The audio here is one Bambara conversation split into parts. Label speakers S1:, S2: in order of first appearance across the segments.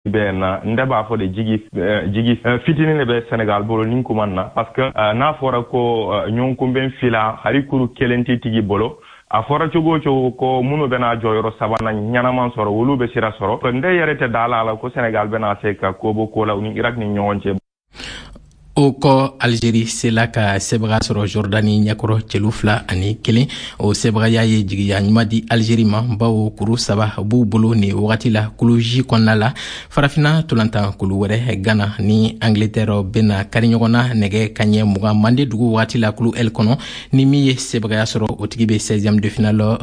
S1: Bɛ na, n b'a fɔ de, jigi fitinin de bɛ Senegal bolo nin kuma na, parce que n'a fɔra ko ɲɔgɔnkunbɛn fila, hali kuru kelen tɛ tigi bolo, a fɔra cogo o cogo ko minnu bɛna jɔyɔrɔ sabanan ɲɛnaman sɔrɔ, olu bɛ sira sɔrɔ. N yɛrɛ tɛ da la ko Senegal bɛna se ka ko bɔ ko la u ni Irak ni ɲɔgɔn cɛ.
S2: O kɔ, Algérie sela ka sɛbɛga sɔrɔ Jordani ɲɛkɔrɔ celu 2-1. O sɛbɛgaya ye jigiya ɲuman di Algérie ma, bawo kuru 3 b'u bolo nin wagati la kulu J kɔnɔna la. Farafina tolantan kulu wɛrɛ, Ghana ni Angleterre bena kari ɲɔgɔn na nɛgɛ kaɲɛ 20 Mande dugu wagati la kulu L kɔnɔ. Ni min ye sɛbɛgaya sɔrɔ, o tigi be 16e de finale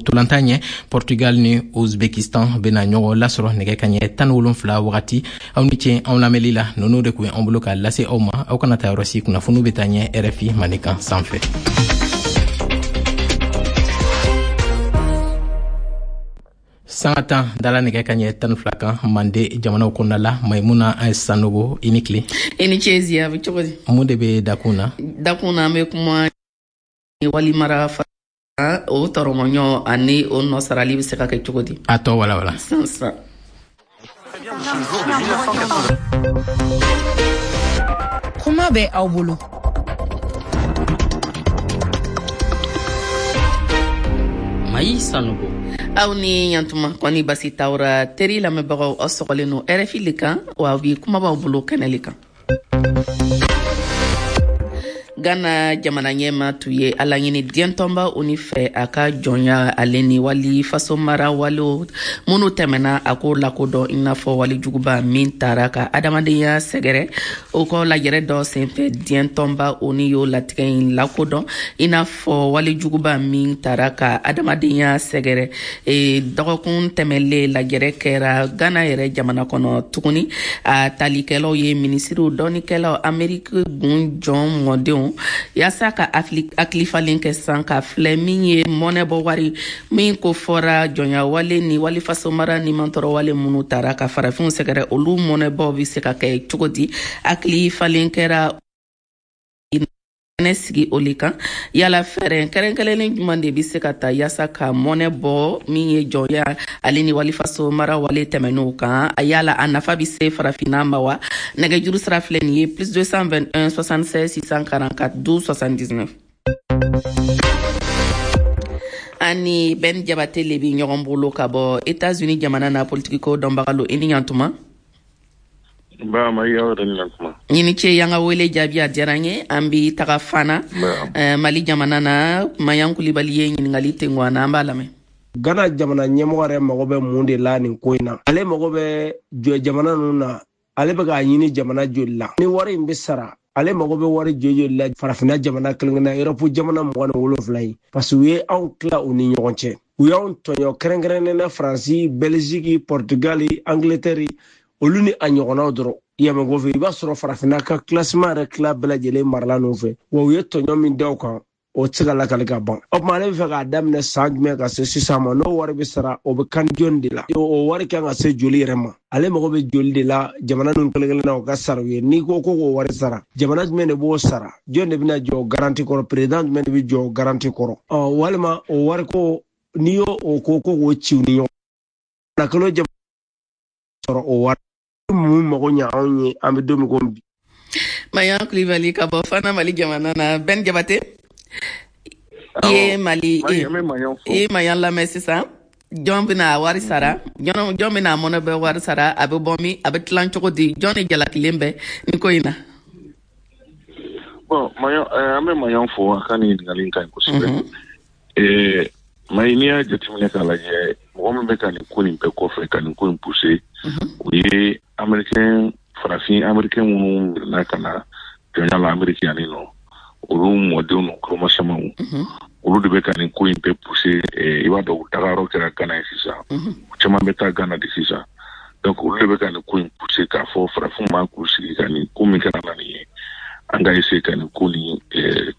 S2: tolantan ɲɛ. Portugal ni Uzbekistan bena ɲɔgɔn lasɔrɔ nɛgɛ kaɲɛ 17 wagati. Aw ni ce anw lamɛnli la. Nunu de kun ye anw bolo k'a lase aw ma. Aw kana taa yɔrɔ si, kunnafoniw bɛ taa ɲɛ RFI Mandenkan sanfɛ. Sanga 10 dala nɛgɛ ka ɲɛ 12 kan Mande jamanaw kɔnɔna la. Maimuna Sanogo, i ni tile.
S3: I ni ce Ziya, bɛ cogo di?
S2: Mun de bɛ dakun na?
S3: Dakun na, an bɛ kuma wali mara o tɔrɔmɔɲɔ ani o nɔ sarali bɛ se ka kɛ cogo di?
S2: A tɔ walawala.
S3: Sisan sisan.
S4: Kuma bɛ aw bolo.
S5: Mayi Sanogo.
S3: Aw ni yantuma, kɔni basi t'aw ra? Teri lamɛnbagaw, aw sɔgɔlen no RFI le kan, wa bi kuma b'aw bolo kɛnɛ le kan. Ghana jamana ɲɛma tun ye a laɲini diɲɛ tɔnba ONU fɛ, a ka jɔnya ale ni wali faso mara walew minnu tɛmɛna, a k'o lakodɔn i n'a fɔ walejuguba min taara ka adamadenya sɛgɛrɛ. O kɔ, lajɛrɛ dɔ senfɛ, diɲɛ tɔnba ONU y'o latigɛ in lakodɔn i n'a fɔ walejuguba min taara ka adamadenya sɛgɛrɛ. Dɔgɔkun tɛmɛlen, lajɛrɛ kɛra Ghana yɛrɛ jamana kɔnɔ tuguni. A talikɛlaw ye minisiriw, dɔnnikɛlaw, Ameriki gun jɔn mɔdenw, yaasa ka hakilifalen kɛ san ka filɛ min ye mɔnɛbɔ wari min ko fɔra jɔnya wale ni wali fasomara ni mantɔrɔ wale minnu tara ka farafinw sɛgɛrɛ, olu mɔnɛbɔ bɛ se ka kɛ cogo di. Hakili falen kɛra kɛnɛ sigi o le kan. Yala fɛɛrɛ kɛrɛnkɛrɛnnen jumɛn de bɛ se ka ta yaasa ka mɔnɛ bɔ min ye jɔnya ale ni walifaso mara wale tɛmɛn'o kan? A yala a nafa bɛ se farafinna ma wa? Nɛgɛjuru sira filɛ nin ye: plus 221 76 644 12 79. Ani Ben Jabate le bi ɲɔgɔn bolo ka bɔ États-Unis jamana na, politikiko dɔnbaga lo. I ni ɲantuma.
S6: Ba ma, aw yɛrɛ ni ɲantuma.
S3: I ni ce y'an ka wele jaabi, a diyara n ye. An bi taga Fana, Mali jamana na. Mayan Kulibali ye ɲininkali tengu an na, an b'a lamɛn.
S7: Ghana jamana ɲɛmɔgɔ yɛrɛ mago bɛ mun de la nin ko in na? Ale mago bɛ jɔ jamana ninnu na, ale bɛ k'a ɲini jamana joli la? Ni wari in bɛ sara, ale mago bɛ wari joli joli la farafinna jamana kelen kelenna, Europe jamana 27 ye? Parce que u ye anw tila u ni ɲɔgɔn cɛ, u y'anw tɔɲɔ, kɛrɛnkɛrɛnnen na Faransi, Belgique, Portugal, Angleterre, olu ni a ɲɔgɔnnaw dɔrɔn. Yɛmɛ kɔfɛ, i b'a sɔrɔ farafinna ka classement yɛrɛ tila bɛɛ lajɛlen marala ninnu fɛ. Wa u ye tɔɲɔ min da u kan, o tɛ se ka lakali ka ban. O tuma, ale bɛ fɛ k'a daminɛ san jumɛn ka se sisan ma? N'o wari bɛ sara, o bɛ kan jɔni de la? O wari kan ka se joli yɛrɛ ma? Ale mago bɛ joli de la jamana ninnu kelen kelen na, o ka sara u ye? N'i ko ko k'o wari sara, jamana jumɛn de b'o sara? Jɔn de bɛna jɔ garantie kɔrɔ? Président jumɛn de bɛ jɔ garantie kɔrɔ? Ɔ, walima o wari ko, n'i y'o o ko ko k'o ci u ni ɲɔgɔn na, kalo jamana sɔrɔ o wari mun mago ɲɛ anw ye, an bɛ don min ko bi.
S3: Mayan Kulibali ka bɔ Fana, Mali jamana na. Ben Jabate, i ye Mali, i ye Mayan lamɛn. Sisan, jɔn bɛna wari sara? Jɔn bɛna mɔnɛ bɛ wari sara? A bɛ bɔ min? A bɛ tilan cogo di? Jɔn de jalakilen bɛ nin ko in na?
S6: Bon, Mayan, an bɛ Mayan fo, a ka nin ɲininkali in ka ɲi kosɛbɛ. Mayi, n'i y'a jateminɛ k'a lajɛ, mɔgɔ min bɛ ka nin ko nin bɛɛ kɔfɛ, ka nin ko in pousser, o ye américain, farafin américain minnu minɛna ka na jɔnya la Amérique yanni nɔ, olu mɔdenw n'u kulomasamaw, olu de bɛ ka nin ko in bɛɛ pousser. I b'a dɔn, u dagayɔrɔ kɛra Ghana ye sisan, u caman bɛ taa Ghana de sisan. Donc olu de bɛ ka nin ko in pousser k'a fɔ farafinw man k'u sigi ka nin ko min kɛra na nin ye, an ka essayer ka nin ko nin,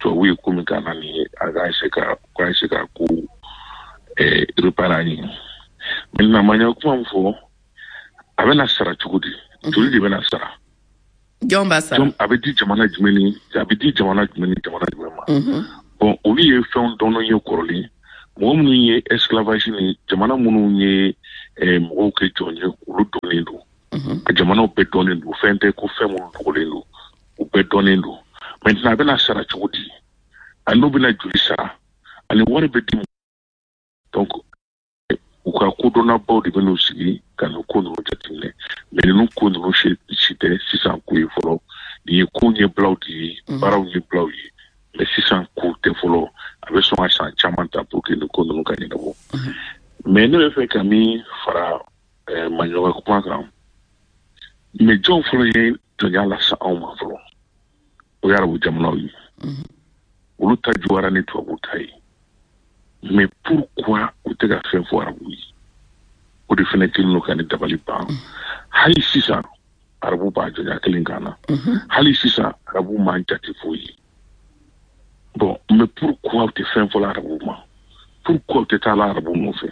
S6: tubabu ye ko min k'an na nin ye, an ka essayer ka ka essayer ka ko réparer an ye. Maintenant, Maɲa, kuma min fɔ, a bɛna sara cogo di? Joli de bɛna sara?
S3: Jɔn b'a sara?
S6: A bɛ di jamana jumɛn ni, a bɛ di jamana jumɛn ni jamana jumɛn ma? Bon, olu ye fɛnw dɔɔnin ye kɔrɔlen. Mɔgɔ minnu ye esclavage ni jamana minnu ye mɔgɔw kɛ jɔn ye, olu dɔnnen don. A jamanaw bɛɛ dɔnnen don, fɛn tɛ ko fɛn minnu dogolen don, u bɛɛ dɔnnen don. Maintenant a bɛna sara cogo di, a n'u bɛna joli sara, ani wari bɛ di. Donc u ka kodɔnnabaw de bɛn'u sigi ka nin ko ninnu jateminɛ. Mais ninnu ko ninnu si tɛ sisan ko ye fɔlɔ. Nin ye ko ɲɛbilaw de ye, baaraw ɲɛbilaw ye, mais sisan ko tɛ fɔlɔ. A bɛ sɔn ka san caman ta pour que nin ko ninnu ka ɲɛnabɔ. Mais ne bɛ fɛ ka min fara Maɲɔgɔn kuma kan, mais jɔn fɔlɔ ye jɔnya lase anw ma fɔlɔ? O ye arabu jamanaw ye. Olu ta juguyara ni tubabu ta ye. Mais pourquoi u tɛ ka fɛn fɔ arabu ye? O de fana kɛlen don ka ne dabali ban. Hali sisan arabu b'a jɔnya kelen kan na, hali sisan arabu m'an jate foyi ye. Bon, mais pourquoi u tɛ fɛn fɔla arabu ma? Pourquoi u tɛ taa la arabu nɔfɛ?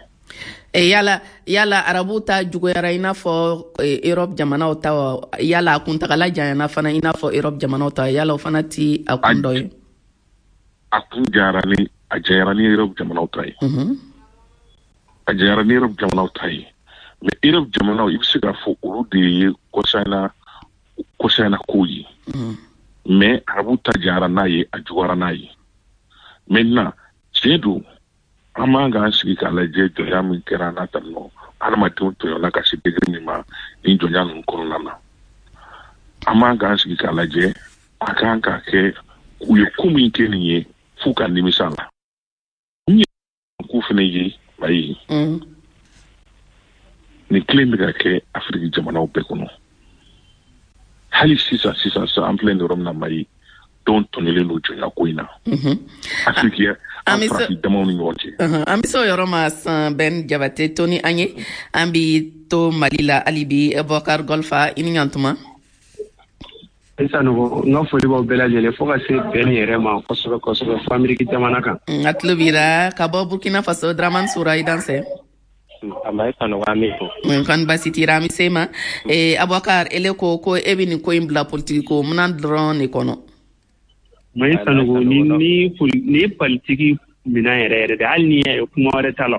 S3: Yala arabu ta juguyara i n'a fɔ Europe jamanaw ta wa? Yala a kuntagala janyana fana i n'a fɔ Europe jamanaw ta? Yala o fana ti a kun dɔ ye?
S6: A kun janyara ni, a janyara ni Europe jamanaw ta ye. A janyara ni Europe jamanaw ta ye. Mais Europe jamanaw, i bɛ se k'a fɔ olu de ye kɔsanyana kow ye. Mais arabu ta janyara n'a ye, a juguyara n'a ye. Maintenant tiɲɛ don, an man k'an sigi k'a lajɛ jɔnya min kɛra n'a ta nɔ, adamadenw tɔɲɔna ka se degré min ma nin jɔnya ninnu kɔnɔna na. An man k'an sigi k'a lajɛ, a kan ka kɛ u ye ko min kɛ nin ye f'u ka nimisa la. Min ye ko fana ye, ayi, nin kelen bɛ ka kɛ Afiriki jamanaw bɛɛ kɔnɔ hali sisan. Sisan sisan, an filɛ nin yɔrɔ min na, Mayi, dɔw tɔɲɔlen don jɔnya ko in na Afiriki, an farafin damaw ni ɲɔgɔn cɛ.
S3: An bɛ se o yɔrɔ ma san. Bɛn Jabate to ni an ye, an bi to Mali la hali bi. Bɔkar Gɔlfa, i ni ɲantuma.
S8: Sanogo, n ka foli b'aw bɛɛ lajɛlen, fo ka se bɛn yɛrɛ ma kosɛbɛ kosɛbɛ, fo Ameriki jamana kan.
S3: A tulo b'i la. Ka bɔ Burkina Faso, Draman Sura, i dansɛ.
S9: Mayi Sanogo, an b'i fo.
S3: Kan basi t'i ra, an bɛ se ma. Abubakar, ele ko e bɛ nin ko in bila politiki ko minan dɔrɔn de kɔnɔ.
S8: Mayi Sanogo, ni ye politiki minan yɛrɛ yɛrɛ de, hali ni y'a ye kuma wɛrɛ t'a la,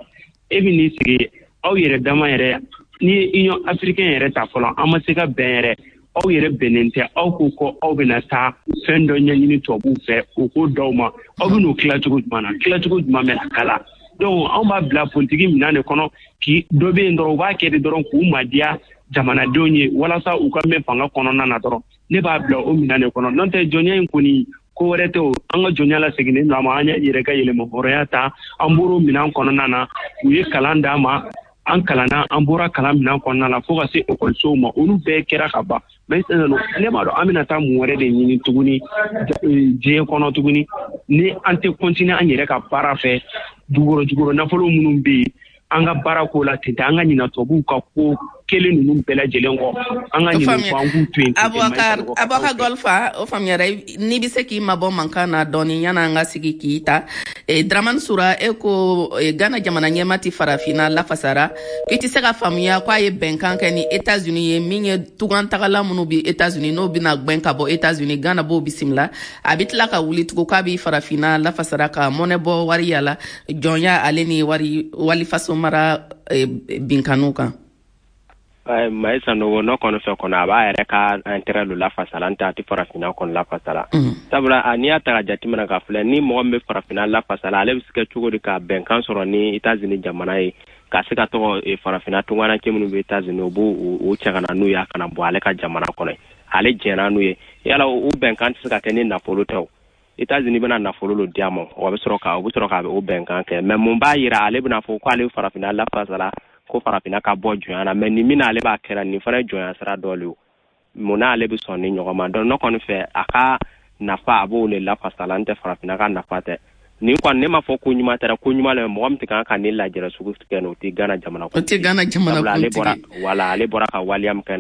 S8: e bɛ n'i sigi aw yɛrɛ dama yɛrɛ. Ni ye Union africaine yɛrɛ ta fɔlɔ, an ma se ka bɛn yɛrɛ. Aw yɛrɛ bɛnnen tɛ. Aw ko aw bɛna taa fɛn dɔ ɲɛɲini tubabuw fɛ, o ko d'aw ma, aw bɛ n'o tilacogo jumɛn na? Tilacogo jumɛn bɛna kala? Donc anw b'a bila politiki minɛn de kɔnɔ, k'i dɔ bɛ yen dɔrɔn, u b'a kɛ de dɔrɔn k'u madiya jamanadenw ye walasa u ka mɛn fanga kɔnɔna na dɔrɔn. Ne b'a bila o minɛn de kɔnɔ. N'o tɛ, jɔnya in kɔni, ko wɛrɛ tɛ o. An ka jɔnya la seginnen don a ma, an yɛrɛ ka yɛlɛma hɔrɔnya ta, an bɔr'o minɛn kɔnɔna na. U ye kalan d'an ma, an kalanna, an bɔra kalan minɛn kɔnɔna na fo ka se ekɔlisow ma, olu bɛɛ kɛra ka ban. Mais ne b'a dɔn an bɛna taa mun wɛrɛ de ɲini tuguni diɲɛ kɔnɔ tuguni, ni an tɛ continuer an yɛrɛ ka baara fɛ? Dugukɔrɔ jukɔrɔ nafolo minnu bɛ yen, an ka baara ko la ten tɛ, an ka ɲina tubabuw ka ko kelen ninnu bɛɛ lajɛlen kɔ, an ka ɲinɛ kɔ, an k'u to yen.
S3: Abubakar Gɔlfa, o faamuyara. N'i bɛ se k'i mabɔ mankan na dɔɔni yan'an ka sigi k'i ta. Dramane Sura, e ko Ghana jamana ɲɛma ti farafinna lafasara, k'i tɛ se ka faamuya k'a ye bɛnkan kɛ ni États-Unis ye, min ye tugantagala minnu bi États-Unis, n'o bɛna gbɛn ka bɔ États-Unis, Ghana b'o bisimila. A bɛ tila ka wuli tugun k'a bɛ farafinna lafasara ka mɔnɛ bɔ wari yala jɔnya ale ni wari walifaso mara binkanniw kan.
S9: Mayi Sanogo, n'o kɔni fɛ kɔnɔ, a b'a yɛrɛ ka intérêt lo lafasala, n tɛ a tɛ farafinna kɔni lafasala. Sabula n'i y'a ta ka jateminɛ ka filɛ, ni mɔgɔ min bɛ farafinna lafasala, ale bɛ se kɛ cogo di ka bɛnkan sɔrɔ ni États-Unis jamana ye, ka se ka tɔgɔ farafinna tungaranke minnu bɛ États-Unis, u b'o o cɛ ka na n'u ye, a kana bɔ ale ka jamana kɔnɔ? Ale jɛnna n'u ye. Yala o bɛnkan tɛ se ka kɛ ni nafolo tɛ o? États-Unis bɛna nafolo lo di a ma, o bɛ sɔrɔ ka o bɛ sɔrɔ ka o bɛnkan kɛ. Mais mun b'a yira ale bɛna fɔ ko ale bɛ farafinna lafasala, ko farafinna ka bɔ jɔnya na? Mais nin min ale b'a kɛra, nin fana ye jɔnya sira dɔ le o. Mun na ale bɛ sɔn ni ɲɔgɔn ma? Donc ne kɔni fɛ, a ka nafa, a b'o le lafasala, n tɛ farafinna ka nafa tɛ. Nin kɔni, ne m'a fɔ ko ɲuman tɛ, ko ɲuman le. Mɔgɔ min tɛ kan ka nin lajɛrɛ sugu kɛ, o tɛ Ghana jamana.
S3: O tɛ Ghana jamana.
S9: Sabula ale bɔra, wala ale bɔra ka waleya min kɛ,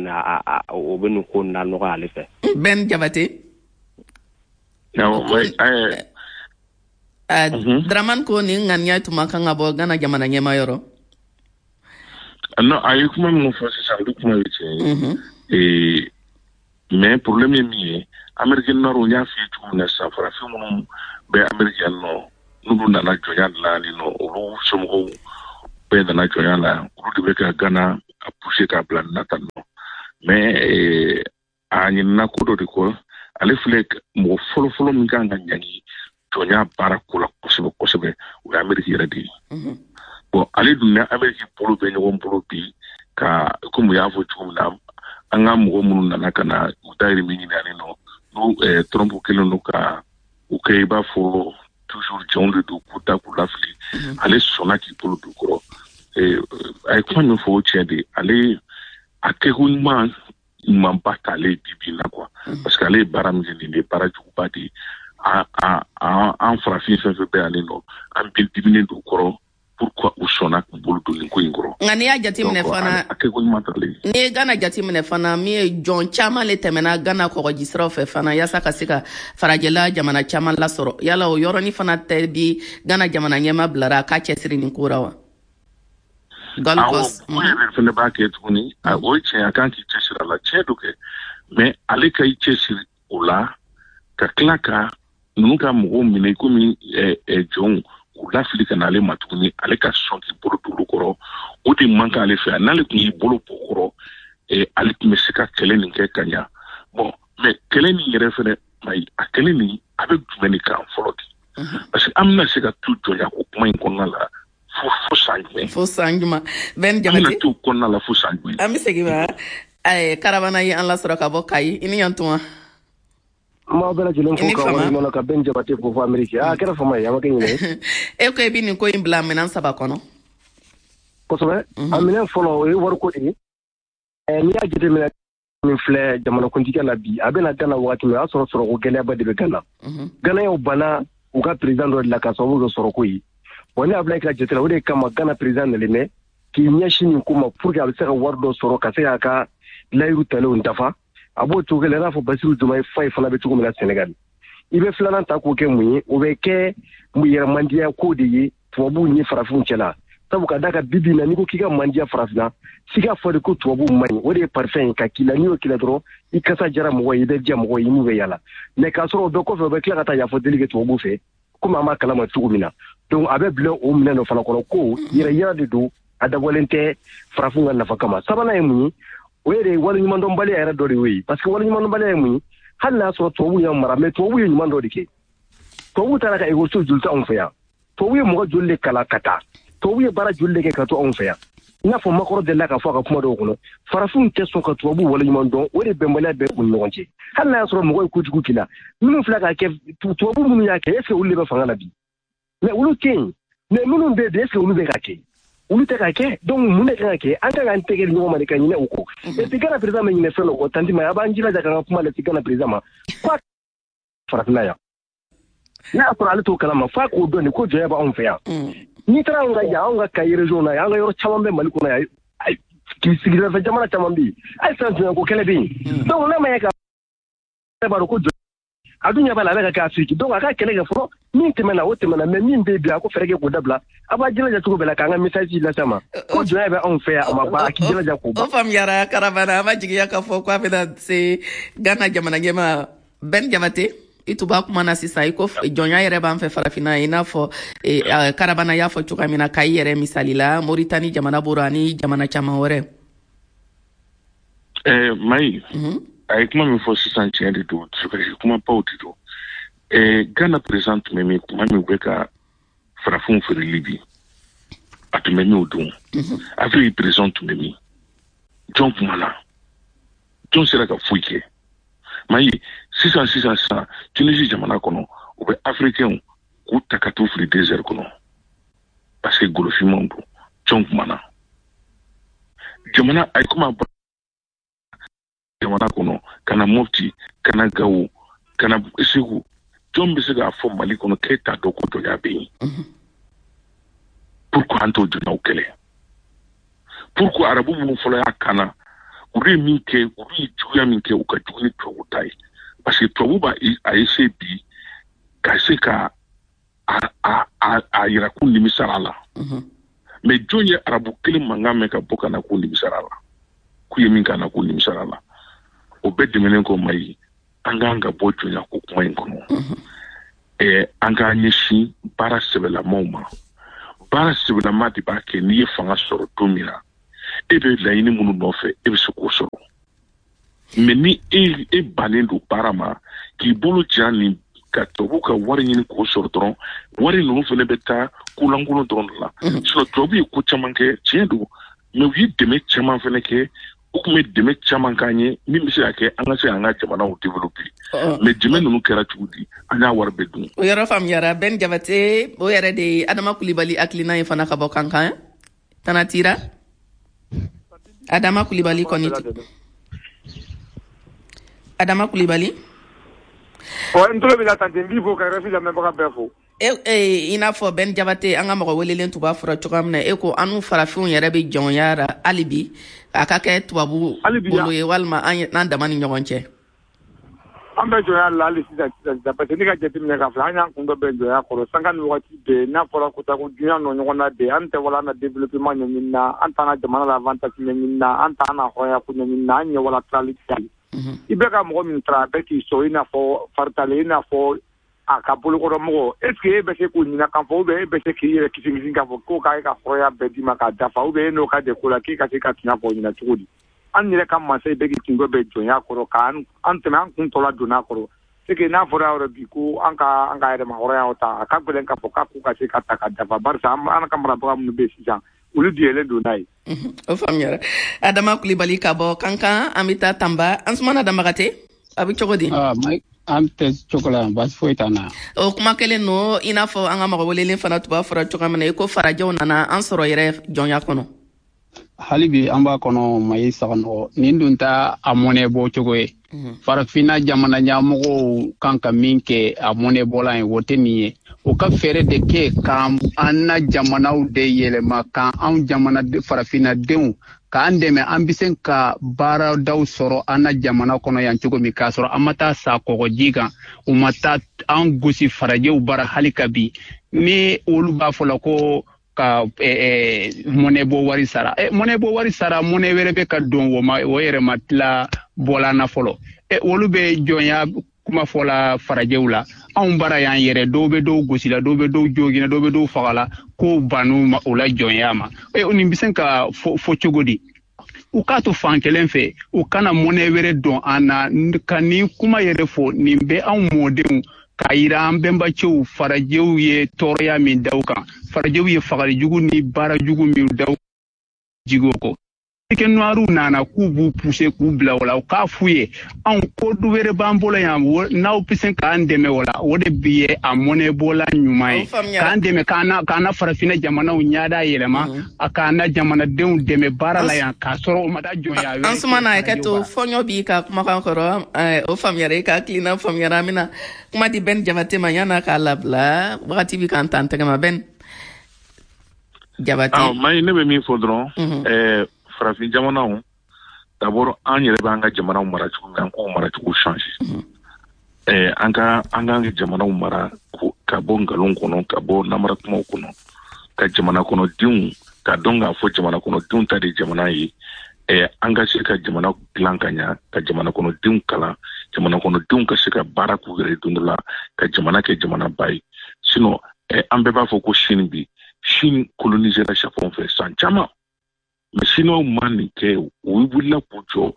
S9: o bɛ nin ko nin lanɔgɔ ale fɛ.
S3: Ben Jabate.
S6: Awɔ.
S3: Dramane ko nin ŋaniya tun man kan ka bɔ Ghana jamana ɲɛma yɔrɔ.
S6: Non, a ye kuma minnu fɔ sisan, olu kuma ye tiɲɛ ye. Mais problème ye min ye, Amérique du Nord, n y'a f'i ye cogo min na sisan, farafin minnu bɛ Amérique yan nɔ, n'olu nana jɔnya de la yan nɔ, olu somɔgɔw bɛɛ nana jɔnya la yan, olu de bɛ ka Ghana a pousser k'a bila nin na tan nɔ. Mais a ɲinina ko dɔ de kɔ, ale filɛ mɔgɔ fɔlɔfɔlɔ min kan ka ɲangi jɔnya baara ko la kosɛbɛ kosɛbɛ, o ye Ameriki yɛrɛ de ye. Bon, ale dun ni Ameriki bolo bɛ ɲɔgɔn bolo bi, ka komi u y'a fɔ cogo min na, an ka mɔgɔ minnu nana ka na u dayirimɛ ɲini ani nɔ, n'u Trump kɛlen don ka u kɛ i b'a fɔ toujours jɔnw de don, k'u da k'u lafili, ale sɔnna k'i bolo don kɔrɔ. A ye kuma min fɔ, o tiɲɛ de, ale a kɛko ɲuman ɲumanba t'ale bi bi in na quoi, parce que ale ye baara min kɛ, nin de ye baara juguba de ye. An farafin fɛn fɛn bɛ yan nɔ, an bɛ diminen don kɔrɔ, pourquoi u sɔnna k'u bolo don nin ko in kɔrɔ.
S3: Nka n'i y'a jateminɛ fana,
S6: a kɛko ɲuman t'ale ye.
S3: N'i ye Ghana jateminɛ fana, min ye jɔn caman le tɛmɛna Ghana kɔgɔji siraw fɛ fana, yaasa ka se ka farajɛla jamana caman lasɔrɔ, yala o yɔrɔnin fana tɛ bi Ghana jamana ɲɛma bilara a k'a cɛsiri nin ko ra wa?
S6: Awɔ, o yɛrɛ fana b'a kɛ tuguni. O ye tiɲɛ, a kan k'i cɛsiri a la, tiɲɛ don kɛ, mais ale ka i cɛsiri o la ka tila ka ninnu ka mɔgɔw minɛ komi jɔnw, k'u lafili ka na ale ma tuguni, ale ka sɔn k'i bolo don olu kɔrɔ, o de man kan ale fɛ. N'ale tun y'i bolo bɔ kɔrɔ, ale tun bɛ se ka kɛlɛ nin kɛ ka ɲa. Bon, mais kɛlɛ nin yɛrɛ fɛnɛ, a kɛlɛ nin a bɛ jumɛn de kan fɔlɔ de? Parce que an bɛna se ka to jɔnya ko kuma in kɔnɔna la fo san jumɛn?
S3: Fo san jumɛn? Ben Jabate,
S6: an bɛna to kɔnɔna la fo san jumɛn?
S3: An bɛ segin ma Karabana ye an lasɔrɔ ka bɔ Kayi. I ni yan tuma.
S10: N b'aw bɛɛ lajɛlen fo ka waleɲuman ka Ben Jabate fo fo Ameriki. A kɛra fama ye, a ma kɛ ɲinɛ ye.
S3: E ko i bɛ nin ko in bila minɛn 3 kɔnɔ.
S10: Kosɛbɛ. A minɛn fɔlɔ, o ye wariko de ye. N'i y'a jateminɛ, min filɛ jamanakuntigiya la bi, a bɛna Gana wagati min, o y'a sɔrɔ sɔrɔko gɛlɛyaba de bɛ Gana. Ganayaw banna u ka président dɔ de la ka sababu kɛ sɔrɔko ye. Wa ne y'a bila i ka jate la, o de kama Gana président nalen bɛ k'i ɲɛsin nin ko ma pour que a bɛ se ka wari dɔ sɔrɔ ka se k'a ka layiru talenw dafa. A b'o cogo kelen i n'a fɔ Basiru Diomaye Faye fana bɛ cogo min na Senegal. I bɛ filanan ta k'o kɛ mun ye? O bɛ kɛ yɛrɛmandiya ko de ye tubabuw ni farafinw cɛ la. Sabu ka d'a kan bi bi in na, n'i ko k'i ka mandiya farafinna, f'i k'a fɔ de ko tubabuw man ɲi. O de ye parfum ye ka k'i la, n'i y'o k'i la dɔrɔn, i kasa jara mɔgɔ ye, i bɛ diya mɔgɔ ye, i n'u bɛ yala. Mais k'a sɔrɔ o bɛɛ kɔfɛ, u bɛ tila ka taa yafa deli kɛ tubabuw fɛ, komi an b'a kalama cogo min na. Donc a bɛ bila o minɛn dɔ fana kɔnɔ ko yɛrɛ yira de don, a dabɔlen tɛ farafinw ka nafa kama. Sabanan ye mun ye? O yɛrɛ ye waleɲumandɔnbaliya yɛrɛ dɔ de y'o ye. Parce que waleɲumandɔnbaliya ye mun ye? Hali n'a sɔrɔ tubabuw y'an mara, mais tubabuw ye ɲuman dɔ de kɛ. Tubabuw taara ka ekɔliso joli to anw fɛ yan? Tubabu ye mɔgɔ joli de kalan ka taa? Tubabu ye baara joli de kɛ ka to anw fɛ yan? I n'a fɔ Macron delila k'a fɔ a ka kuma dɔw kɔnɔ, farafinw tɛ sɔn ka tubabuw waleɲuman dɔn, o de bɛnbaliya bɛ u ni ɲɔgɔn cɛ. Hali n'a y'a sɔrɔ mɔgɔ ye kojugu k'i la, minnu filɛ k'a kɛ, tubabu minnu y'a kɛ, est ce que olu de bɛ fanga la bi? Mais olu tɛ yen. Mais minnu bɛ yen bi, est ce que olu bɛ ka kɛ? Olu tɛ ka kɛ. Donc mun de kan ka kɛ? An kan k'an tɛgɛ di ɲɔgɔn ma de ka ɲinɛ o kɔ. Et puis Ghana président bɛ ɲinɛ fɛn dɔ kɔ, tanti ma, a b'an jilaja k'an ka kuma lase Ghana président ma. F'a farafinna yan. N'a y'a sɔrɔ ale t'o kalama, f'a k'o dɔn de ko jɔnya b'anw fɛ yan. N'i taara anw ka yan, anw ka Kayi région na yan, an ka yɔrɔ caman bɛ Mali kɔnɔ yan, k'i sigidafɛ jamana caman bɛ yen, hali sisan jɔnyako kɛlɛ bɛ yen. Donc n'a ma ɲɛ k'a b'a dɔn ko jɔn a dun ɲɛ b'a la, a bɛ ka kɛ Afiriki. Donc a ka kɛlɛ kɛ fɔlɔ, min tɛmɛna o tɛmɛna, mais min bɛ yen bi, a ko fɛɛrɛ kɛ k'o dabila. A b'a jilaja cogo bɛɛ la k'an ka message lase a ma ko jɔnya bɛ anw fɛ yan, a ma ban, a k'i jilaja k'o ban.
S3: O faamuyara Karabana, an b'a jigiya k'a fɔ k'a bɛna se Ghana jamana ɲɛmaa Ben Jabate. I tun b'a kuma na sisan, i ko jɔnya yɛrɛ b'an fɛ farafinna, i n'a fɔ Karabana y'a fɔ cogoya min na, Kayi yɛrɛ misali la, Moritani jamana bɔra ani jamana caman wɛrɛ.
S6: Mayi, a ye kuma min fɔ sisan, tiɲɛ de don, dusukasi kumabaw de don. Ghana président tun bɛ min kuma min u bɛ ka farafinw feere Libi, a tun bɛ min o don? Afrique président tun bɛ min? Jɔn kumana? Jɔn sera ka foyi kɛ? Mayi, sisan sisan sisan, Tunisie jamana kɔnɔ, u bɛ africains k'u ta ka t'u fili désert kɔnɔ parce que golofinmanw don. Jɔn kumana? Jamana a ye kuma jamana kɔnɔ ka na Mopti, ka na Gawo, ka na Segu, jɔn bɛ se k'a fɔ Mali kɔnɔ k'e t'a dɔn ko jɔnya bɛ yen? Pourquoi an t'o jɔnyaw kɛlɛ? Pourquoi arabu minnu fɔlɔ y'a kana, olu ye min kɛ, olu ye juguya min kɛ, u ka jugu ni tubabu ta ye? Parce que tubabu b'a a essayer bi ka se ka a yira k'u nimisara la. Mais jɔn ye arabu kelen mankan mɛn ka bɔ ka na k'u nimisara la, k'u ye min k'a na k'u nimisara la? O bɛɛ tɛmɛnen kɔ, Mayi, an k'an ka bɔ jɔnya ko kuma in kɔnɔ. An k'an ɲɛsin baara sɛbɛlamaw ma. Baara sɛbɛlama de b'a kɛ n'i ye fanga sɔrɔ don min na, e bɛ laɲini minnu nɔfɛ, e bɛ se k'o sɔrɔ. Mais ni e bannen don baara ma, k'i bolo ja nin ka tubabu ka wari ɲini k'o sɔrɔ dɔrɔn, wari ninnu fana bɛ taa kolankolon dɔrɔn de la. Sinon tubabu ye ko caman kɛ, tiɲɛ don, mais u ye dɛmɛ caman fana kɛ. U tun bɛ dɛmɛ caman k'an ye min bɛ se ka kɛ an ka se k'an ka jamanaw développer. Mais dɛmɛ ninnu kɛra cogo di? An y'a wari bɛɛ dun.
S3: O yɔrɔ faamuyara. Ben Jabate, o yɛrɛ de ye Adama Kulibali hakilina ye fana ka bɔ Kankan. Tana tira Adama Kulibali kɔni, Adama Kulibali.
S11: Ɔ, n tulo b'i la tante, n b'i fo ka RFI lamɛnbaga bɛɛ fo.
S3: E, i n'a fɔ Ben Jabate, an ka mɔgɔ welelen tun b'a fɔra cogoya min na, e ko an n'u farafinw yɛrɛ bɛ jɔnya la hali bi, a ka kɛ tubabu bolo ye walima an dama ni ɲɔgɔn cɛ.
S11: An bɛ jɔnya la hali sisan sisan, parce que ne ka jateminɛ k'a filɛ, an y'an kun dɔ bɛn jɔnya kɔrɔ sanga ni wagati bɛɛ. N'a fɔra ko taa ko duɲa nɔ ɲɔgɔn na bɛɛ, an tɛ wala an na développement ɲɛɲini na, an t'an ka jamana la avantage ɲɛɲini na, an t'an na hɔrɔnya ko ɲɛɲini na, an ɲɛ wala tilali. I bɛ ka mɔgɔ min tara, a bɛ k'i sɔn i n'a fɔ faritalen, i n'a fɔ a ka bolokɔrɔmɔgɔ. Est ce que e bɛ se k'o ɲininka k'a fɔ, ou bien e bɛ se k'i yɛrɛ kisi kisi k'a fɔ ko k'e ka hɔrɔnya bɛɛ d'i ma k'a dafa, ou bien e n'o ka de ko la k'e ka se ka tiɲɛ fɔ o ɲɛna cogo di? An yɛrɛ ka mansa bɛ k'i kun bɛɛ jɔnya kɔrɔ k'an tɛmɛ, an kun tɔ la donna kɔrɔ. C'est que n'a fɔra yɔrɔ bi ko an ka yɛrɛma hɔrɔnya ta, a ka gɛlɛn k'a fɔ k'a k'u ka se ka ta ka dafa, barisa an ka marabaga minnu bɛ sisan, olu diyɛlen don n'a ye.
S3: O faamuyara. Adama Kulibali ka bɔ Kankan, an bɛ taa Tanba. Ansumana Damagate, a bɛ cogo di?
S12: An tɛ cogo la, baasi foyi t'an na.
S3: O kuma kelen don, i n'a fɔ an ka mɔgɔ welelen fana tun b'a fɔra cogoya min na, i ko farajɛw nana an sɔrɔ yɛrɛ jɔnya kɔnɔ.
S12: Hali bi an b'a kɔnɔ, Mayi Saganɔgɔ, nin dun t'a a mɔnɛ bɔ cogo ye. Farafinna jamana ɲɛmɔgɔw kan ka min kɛ a mɔnɛ bɔla ye, o tɛ nin ye. U ka fɛɛrɛ de kɛ k'an na jamanaw de yɛlɛma, k'an anw jamana farafinnadenw k'an dɛmɛ, an bɛ se ka baaradaw sɔrɔ an na jamana kɔnɔ yan cogo min, k'a sɔrɔ an ma taa sa kɔgɔji kan, u ma taa an gosi farajɛw bara hali ka bi. Ni olu b'a fɔ la ko ka mɔnɛ bɔ wari sara, mɔnɛ bɔ wari sara, mɔnɛ wɛrɛ bɛ ka don o ma, o yɛrɛ ma tila bɔla na fɔlɔ. Olu bɛ jɔnya kuma fɔla farajɛw la, anw bara y'an yɛrɛ, dɔw bɛ dɔw gosi la, dɔw bɛ dɔw jogina, dɔw bɛ dɔw faga la, k'o bannu o la jɔnya ma. Nin bɛ se ka fɔ cogo di? U k'a to fan kelen fɛ, u kana mɔnɛ wɛrɛ don an na ka nin kuma yɛrɛ fɔ. Nin bɛ anw mɔdenw k'a yira an bɛnbacɛw farajɛw ye tɔɔrɔya min da u kan, farajɛw ye fagali jugu ni baara jugu min da u jigiw kɔ. Afrique noiriw nana k'u b'u pousser k'u bila o la, u k'a f'u ye anw ko du wɛrɛ b'an bolo yan, n'aw bɛ se k'an dɛmɛ o la, o de bi ye a mɔnɛbɔla ɲuman ye, k'an dɛmɛ k'an na farafinna jamanaw ɲada yɛlɛma, a k'an na jamanadenw dɛmɛ baara la yan, k'a sɔrɔ o ma taa jɔnya wɛrɛ.
S3: Ansumana, hakɛ to, fɔɲɔ b'i ka kumakan kɔrɔ, o faamuyara, i ka hakilina faamuyara. An bɛna kuma di Ben Jabate ma yan'a k'a labila, wagati bɛ k'an ta an tɛgɛ ma. Ben Jabate.
S6: Mayi, ne bɛ min fɔ dɔrɔn, farafin jamanaw, d'abord an yɛrɛ b'an ka jamanaw mara cogo min, an k'o maracogo changer. An ka an ka jamanaw mara ka bɔ nkalon kɔnɔ, ka bɔ namara kumaw kɔnɔ, ka jamana kɔnɔdenw ka dɔn k'a fɔ jamana kɔnɔdenw ta de jamana ye. An ka se ka jamana dilan ka ɲa, ka jamana kɔnɔdenw kalan, jamana kɔnɔdenw ka se ka baara k'u yɛrɛ don dɔ la, ka jamana kɛ jamanaba ye. Sinon an bɛɛ b'a fɔ ko Chine bi, Chine colonisera Japon fɛ san caman. Mais Chinois ma nin kɛ, u wulila k'u jɔ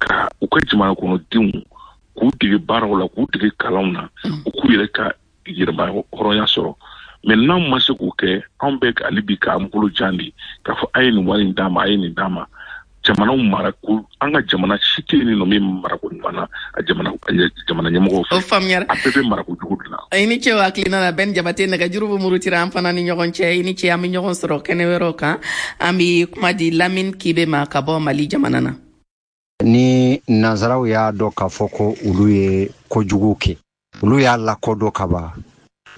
S6: ka u ka jamana kɔnɔdenw k'u dege baaraw la, k'u dege kalanw na, u k'u yɛrɛ ka yɛrɛma hɔrɔnya sɔrɔ. Mais n'anw ma se k'o kɛ, anw bɛ hali bi k'an bolo jan de k'a fɔ a ye nin wari in d'a ma, a ye nin d'a ma. Jamanaw mara ko an ka jamana si tɛ yen nɔ min marako ɲuman na a jamana ɲɛmɔgɔw fɛ.
S3: O faamuyara.
S6: A bɛɛ bɛ marako jugu de la.
S3: I ni ce o hakilina la, Ben Jabate. Nɛgɛjuru bɛ murutira an fana ni ɲɔgɔn cɛ. I ni ce, an bɛ ɲɔgɔn sɔrɔ kɛnɛ wɛrɛw kan. An bɛ kuma di Lamine Kibe ma ka bɔ Mali jamana na.
S13: Ni nanzaraw y'a dɔn k'a fɔ ko olu ye kojugu kɛ, olu y'a lakodɔn ka ban,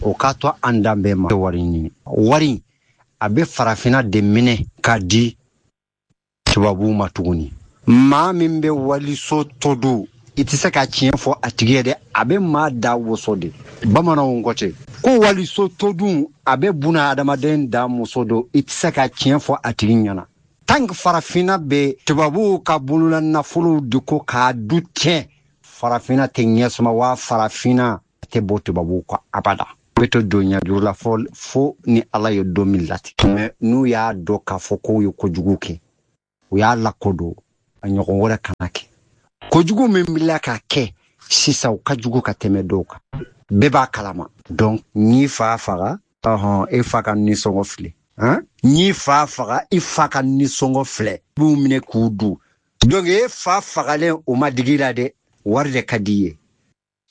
S13: o k'a to an danbe ma wari ɲini. Wari a bɛ farafinna de minɛ k'a di tubabuw ma tuguni. Maa min bɛ waliso to dun, i tɛ se ka tiɲɛ fɔ a tigi ye dɛ, a bɛ maa da woso de. Bamananw ko ten ko waliso to dun, a bɛ buna adamaden da muso don, i tɛ se ka tiɲɛ fɔ a tigi ɲɛna. Tant que farafinna bɛ tubabuw ka bolola nafolow de ko k'a du tiɲɛ, farafinna tɛ ɲɛsuma, wa farafinna tɛ bɔ tubabuw kɔ abada. Bɛ to donya juru la fo ni Ala ye don min latigɛ. Mais n'u y'a dɔn k'a fɔ k'u ye kojugu kɛ, u y'a lakodɔn, a ɲɔgɔn wɛrɛ kana kɛ. Kojugu min bila ka kɛ sisan, o ka jugu ka tɛmɛ dɔw kan, bɛɛ b'a kalama. Donc n'i fa faga, ɔhɔn, e fa ka nisɔngɔ filɛ. N'i fa faga, i fa ka nisɔngɔ filɛ, b'u minɛ k'u dun. Donc e fa fagalen, o ma digi la dɛ, wari de ka di i ye.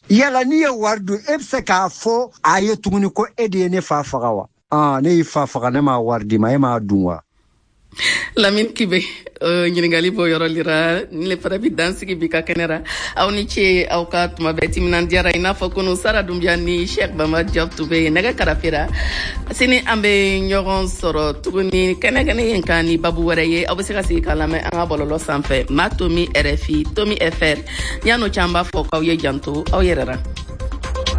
S13: Yala n'i ye wari dun, e bɛ se k'a fɔ a ye tuguni ko e de ye ne fa faga wa? Ne y'i fa faga, ne m'a wari d'i ma, e m'a dun wa?
S3: Lamine Kibe, ɲininkali bɔ yɔrɔ lira ni le fana bi dansigi bi ka kɛnɛ ra. Aw ni ce aw ka tuma bɛɛ timinan diyara. I n'a fɔ kunu, Sara Dunbiya ni Sheikh Bama Diop tun bɛ nɛgɛ karafe ra. Sini an bɛ ɲɔgɔn sɔrɔ tuguni kɛnɛ kɛnɛ yen kan ni babu wɛrɛ ye. Aw bɛ se ka sigi k'a lamɛn an ka bɔlɔlɔ sanfɛ, ma tomi rfi tomi fr. Yan'o cɛ, an b'a fɔ k'aw ye janto aw yɛrɛ ra.